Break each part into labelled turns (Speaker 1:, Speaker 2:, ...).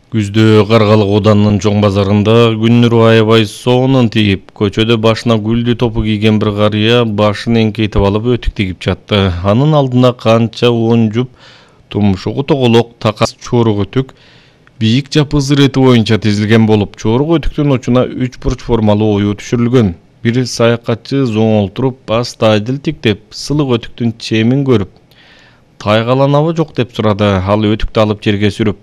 Speaker 1: Күздө Каргалык Оданынын чоң базарында күнүрү аябай соонун тийип, көчөдө башына гүлдү топу кийген бир карыя башын эңкейтип алып өтүк тигип жатты. Анын алдына канча он жуп тумшугу тоголок такас чорук өтүк бийик жапыз ирети боюнча тизилген болуп, чорук өтүктүн учуна 3 бурч формалуу ою түшүрүлгөн. Бир саякатчы зоңолтуруп, басты айдыл тиктеп, сылык өтүктүн чемин көрүп, тайгаланабы жок деп сурады. Ал өтүктү алып жерге сүрүп,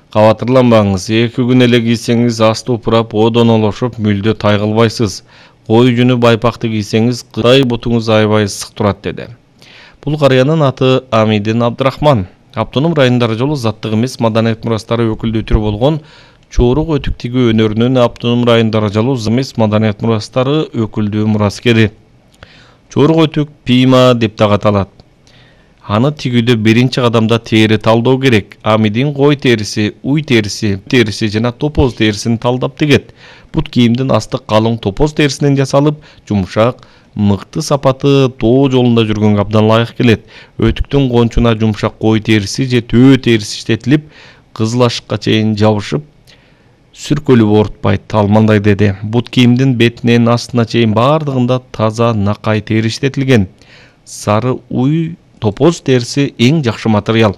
Speaker 1: кабатырланбаңыз, 2 күн эле кийсеңиз асты упурап, одонолошуп, мүлдө тайгалбайсыз. Кой жүнү байпакты кийсеңиз, кытай бутуңуз аябай ысык турат деди. Бул карыянын аты Амидин Абдрахман. Автоном райондор жолу заттык эмес маданият мурастары өкүлдүү түрү болгон чорук өтүк тигүү өнөрүнүн автоном райондор жолу эмес маданият мурастары өкүлдүү мураскери. Чорук өтүк пийма деп дагы аталат. Аны тигүүдө биринчи кадамда тери талдоо керек. Амидин кой териси, уй териси жана топоз терисин талдап тигет. Бут кийимдин асты калың топоз терисинен жасалып, жумшак, мыкты сапаты тоо жолунда жүргөнгө абдан ылайык келет. Өтүктүн кончуна жумшак кой териси же төө териси иштетилип, кызыл ашыкка чейин жабышып, сүркөлүп оорутпайт. Ал мындай деди: бут кийимдин бетинен астына чейин бардыгында таза накай тери иштетилген. Сары уй топоз терisi эң жакшы материал.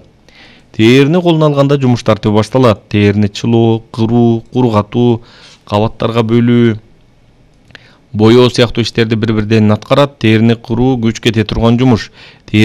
Speaker 1: Терини колуна алганда жумуш тартуу башталат. Терини чылоо, кыруу, кургатуу, кабаттарга бөлүү, боёо сыяктуу иштерди бири-бирден аткарат. Терини кыруу күч кете турган жумуш.